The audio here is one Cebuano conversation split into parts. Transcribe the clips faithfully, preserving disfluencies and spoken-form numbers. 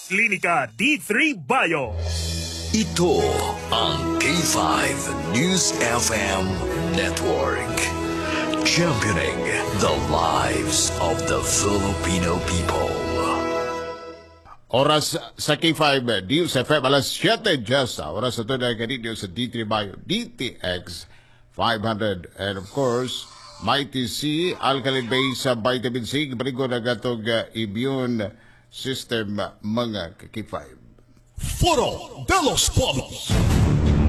Klinika D three Bio. Ito ang K five News F M Network. Championing the lives of the Filipino people. Oras sa K five News F M, alas siyete just oras ito na ganito sa D three Bio D T X five hundred and of course Mighty C Alkaline Base sa Vitamin C, baliko na gatong uh, immune system, mga K five. Foro de los Pueblos.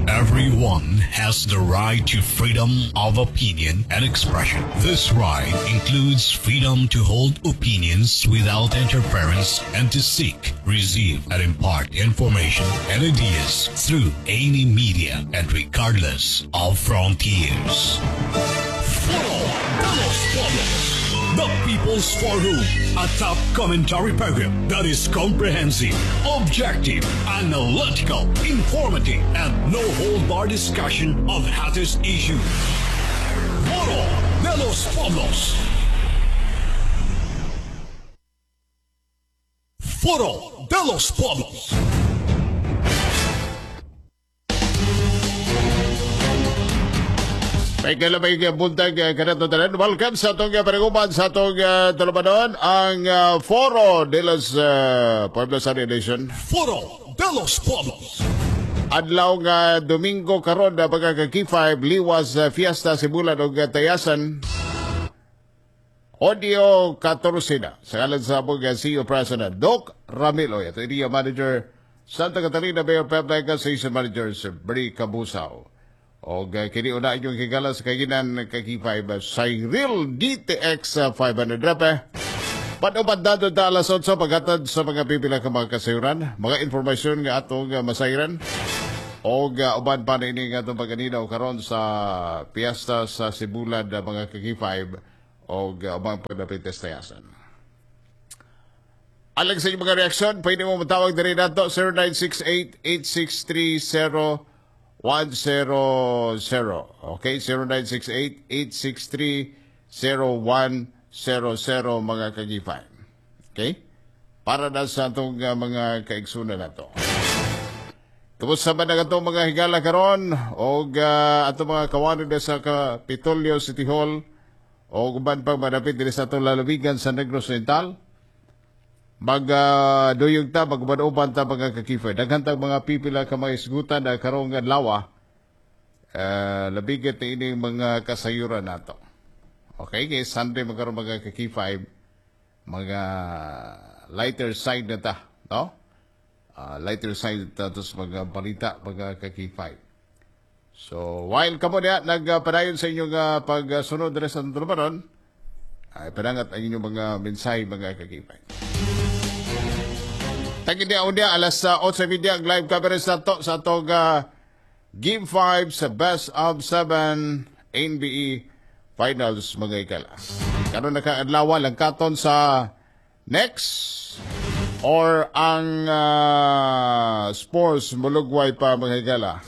Everyone has the right to freedom of opinion and expression. This right includes freedom to hold opinions without interference and to seek, receive, and impart information and ideas through any media and regardless of frontiers. Foro de los Pueblos. The People's Forum, a top commentary program that is comprehensive, objective, analytical, informative, and no hold bar discussion of hottest issues. Foro de los Pueblos. Foro de los Pueblos. May kalabay nga buntag uh, kanato tanan. Welcome sa atong uh, paniguban sa atong uh, tulumanon, ang uh, Foro de los uh, Pueblos Sunday Edition. Foro de los Pueblos. Adlaw nga Domingo karon na pagka K five, liwas uh, fiesta Sibulan og uh, Tayasan. Audio fourteen na. Sa ngalan sa among uh, C E O President Doc Ramilo. Ito area manager Santa Catalina Mayor Pep Lega, Station Manager Sir Bri Kabusaw. O uh, kini una inyong higala sa kaginan kay K five uh, Cyril D T X uh, five hundred repe. Panupad dato ta alas otso paghatod sa mga pipila ka mga kasayuran, mga informasyon nga atong uh, masayran. O uh, uban pa na ini nga atong paganinaw karon sa piyesta sa Sibulan uh, mga ka-K five o uh, ubang pagdapit sa Tayasan. Alang sa inyong mga reaksyon, pwede mo matawag diri nato zero nine six eight, eight six three zero one zero zero. Okay, zero nine six eight, eight six three, zero one zero zero, mga ka-K five. Okay? Para na sa atong uh, mga kaigsunan nato. Kumusta man ang atong mga higala karon og uh, atong mga kawanan na sa Kapitolyo City Hall o uban pang manapit diri sa atong lalawigan sa Negros Oriental? Mag uh, duyog ta, maguban-uban ta, mga ka-K five. Daghan tag mga pipila ka mga isgutan na karong adlaw, uh, labigit na ining mga kasayuran nato. Okay, kay Sunday magkaroon, mga ka-K five, mga lighter side na ta, no? Uh, lighter side ta to sa mga balita, mga ka-K five. So, while kamo niya nagpadayon sa inyong uh, pagsunod diri sa tulumanon, ay panangat ang inyong mga mensahe, mga ka-K five. Tagi niya unya alas uh, otso treinta ang live coverage nato sa atong uh, Game five sa Best of seven N B A Finals, mga higala. Karon nakaadlaw lang katon sa next or ang uh, Spurs mulugway pa, mga higala.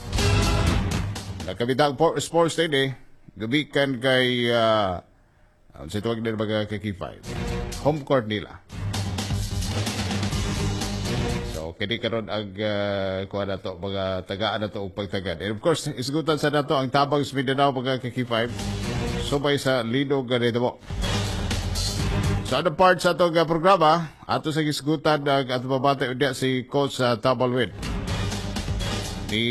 Nakabitang po, Spurs din eh. Gumikan kay uh, sa tuwag nila, mga ka-K five. Home court nila. So, kini karon ang uh, kuha na to, mga tagaan na to og pagtagan. And of course, isgutan sa nato ang tabang sa Mindanao, mga ka-K five. Subay sa linog ganito mo. Sa other part sa atong uh, programa, ato sa gisgutan ang ato mabati unya si Coach uh, Tabalwin. Ni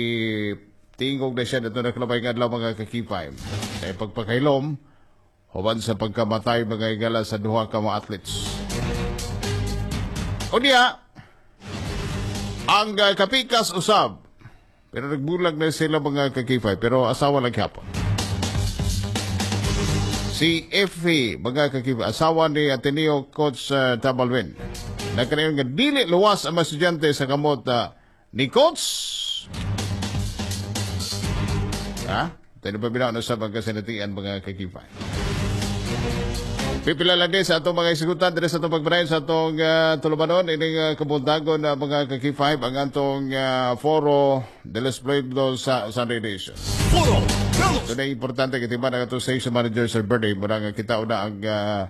tingog na siya dito na kalabay nga adlaw, mga ka-K five. Sa pagpakailom, human sa pagkamatay, mga higala, sa duha ka mga athletes. Unya, ang uh, kapikas usab, pero nagbulag na sila, mga ka-K five, pero asawa lang hapon. Si Effie, mga ka-K five, asawa ni Ateneo Coach uh, Tabalwin. Nagkanayon nga dili luwas ang mga estudyante sa kamot uh, ni Coach. Ha? Tayo pa binaw na sa mga kasinatian, mga ka-K five. Pipila lang din sa atong mga isigutan diri sa atong pagpanayon sa atong uh, tulumanon ining uh, kabuntagon na, mga ka-K five, ang atong uh, Foro de los Pueblos sa Sunday Edition. Foro de los So na importante kay timan ang atong station manager Sir Bernie muna nga kita una ang uh,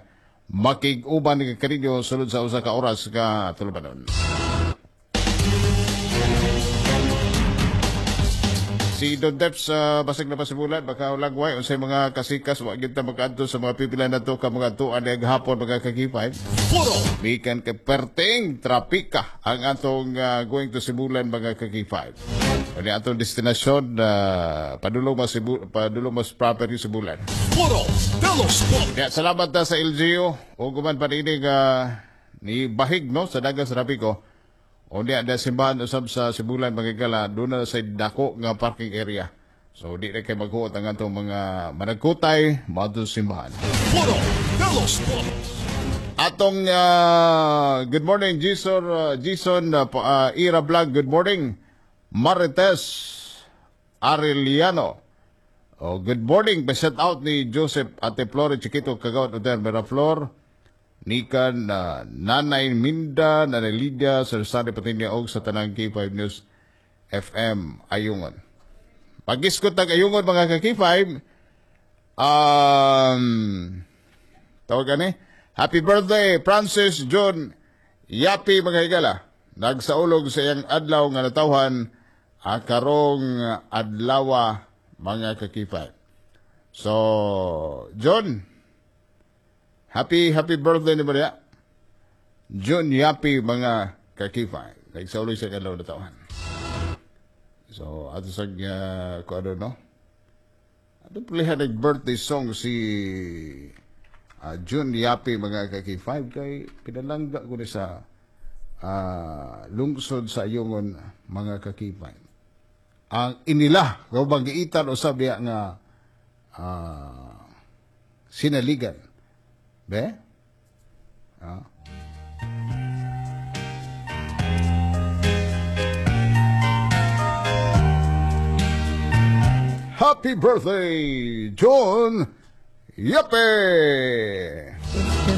makig-uban ni kaninyo sulod sa usa ka oras ka tulumanon. Si Don Deps uh, basig na pasibulan baka lagway unsay mga kasikas wa gyud ta makaadto sa mga pipila nato ka mga tuan diha gahapon mga ka-K five. Puro Bikan kay perting trapika ang atong uh, going to Sibulan, mga ka-K five. Ani atong destinasyon uh, padulong mas Sibu, padulong mas proper yung Sibulan. Puro de los Pueblos. Kaya salamat ta sa L G U o guman paninig uh, ni bahig no sa dagan sa trapiko. O diya da simbahan usab sa Sibulan, mga higala, doon na sa dako nga parking area. So di na kay maghuot ang atong mga managkutay moadto sa simbahan. Puro de los Pueblos. Atong uh, good morning, Jason uh, Jason uh, pa- uh, Ira Vlog, good morning. Marites Arellano. Oh, good morning. Pa-shout out ni Joseph, Ate Flore Chiquito, Kagawad Oder Miraflor. Nikan uh, Nanay Minda, Nanay Lydia, Sir Sunny Patinya og sa tanang K five News F M Ayungon. Pagiskot tag Ayungon, mga ka-K five, um, tawag ani, happy birthday, Francis John Yapi, mga higala. Nagsaulog sa iyang adlaw nga natawhan ah, karong adlawa, mga ka-K five. So, John, happy happy birthday ni Maria. John Yapi, mga ka-K five. Nagsaulog sa iyang adlaw natawhan. So, ato sa uh, kung ano, no? Ato pulihan nag-birthday song si uh, June Yapi, mga ka-K five, kay pinalangga ko ni sa uh, lungsod sa Ayungon, mga ka-K five. Ang inila, kung bang giitan usab diya nga uh, sinaligan. Be? Ah. Happy birthday, John Yape!